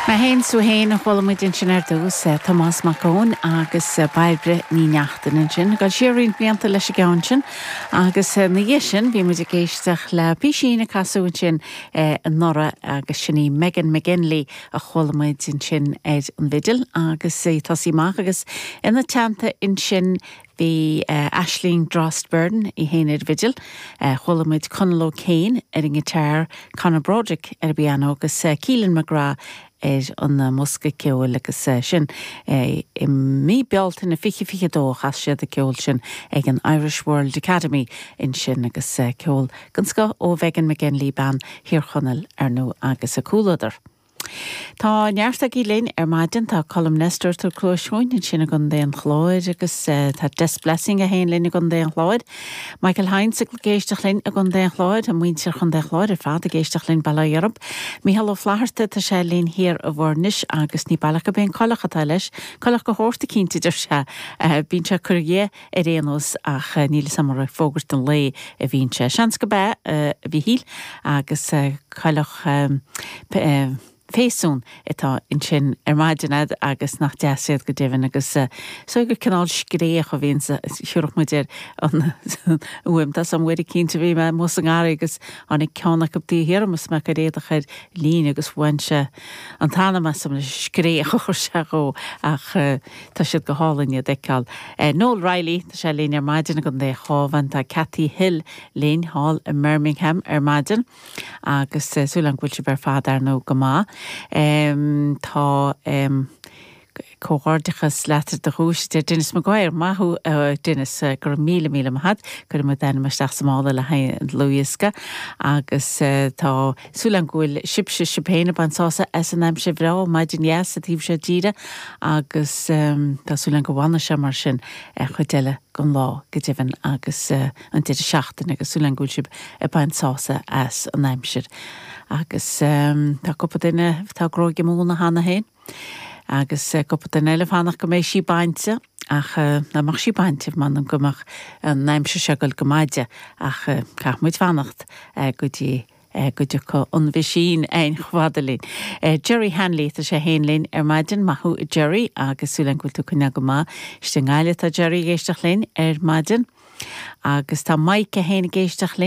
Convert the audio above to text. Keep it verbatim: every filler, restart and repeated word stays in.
Mé féin 's tú féin a chuala muid ansin ar dtús Tomás Mac Eoin agus Bairbre Ní Neachtain ansin, ag dul siar roinnt blianta leis an gceann sin agus ina dhiaidh sin bhí muid ag éisteacht le písín a casadh ansin anuraidh agus sin í Megan McGinley a chuala muid ansin ar an bhfidil agus í tosaí amach agus ina teannta ansin bhí uh, Aisling Drost-Byrne í féin ar bhfidil, uh, chuala muid Conal O'Kane ar an ngiotár Conor Broderick ar an bpianó agus uh, Keelan McGrath ar an mbosca ceoil agus sin i mí Bealtaine fiche fiche dó chas siad an ceol sin ag an Irish World Academy ansin agus ceol den scoth ó Megan McGinley bean Thír Chonaill ar ndóigh agus a comhluadar. Tá neart agaibh linn ar maidin tá Colm Nestor tar clóisiúin ansin i gContae an Chláir agus uh, tá Des Blessing a haon linn i gContae an Chláir. Michael Heinz ag éisteacht linn i gContae an Chláir a muintir Chontae an Chláir ar fad ag éisteacht linn bail ó Dhia oraibh. Mícheál Ó Flatharta tá sé linn thiar i bhFoirnis agus ní baileach gurb é an coileach atá leis, coileach go hórta cinnte deir sé bíonn sé curtha dhe ar aon nós ach níl samar fógart an lae a bhíonn sé. Seans gurb é a Mhíchíl agus coileach féasún atá ansin ar maidin agus nach deas iad go deimhin agus so gur cineál scréach a bhíonn siúrach muid ar an uaim tá sam bhfuir cinnte bhí mé mus an gar agus tháinig ceann acu thiar is mé ag éadach ar líne agus bhain sé an t-anam asam le scréach a chuir sé dhó ach tá siad go hálainn iad a fheiceáil. Noel Riley tá sé linn ar maidin i gContae an Chabháin tá Cathy Hill linn thall i Birmingham ar maidin agus súil agam go bhfuil sibh ar fad ar ndóigh go maith. Um, tá um, comhghairdeachas leat do dhuais de Dennis Maguire maith thú uh, Dennis uh, gur míle míle maith chuir mu denm isteach samála le haon luíosca agus uh, tá súil agam go bhfuil sibhse sibh féin ag baint sásamh as an aimsir bhreá maidin dheas sa taobh seo tíre agus um, tá súil agam go bhfanfaidh sé mar sin ar chuid eile den lá go deimhin agus uh, an deireadh seachtaine agus súil agam go bhfuil sibh ag baint sásamh as an aimsir. Agus um, tá cúpla duine tá gróige múna cheana féin. Agus cúpla duine eile fanacht go mbeidh sí bainte ach ná mbeadh sí bainte man an go mbeadh an aimsir seo go go maide ach caithfidh muid fanacht go dtí go dtiocfaidh an mheaisín ein chfada linn. Jerry Hanley tá sé féin linn ar maidin maith thú Jerry agus súil agam go bhfuil tú coinnithe go maith. Istigh i nGaillimh tá Jerry ag éisteacht linn ar maidin. Agus tá Mike a féin ag éisteacht linn.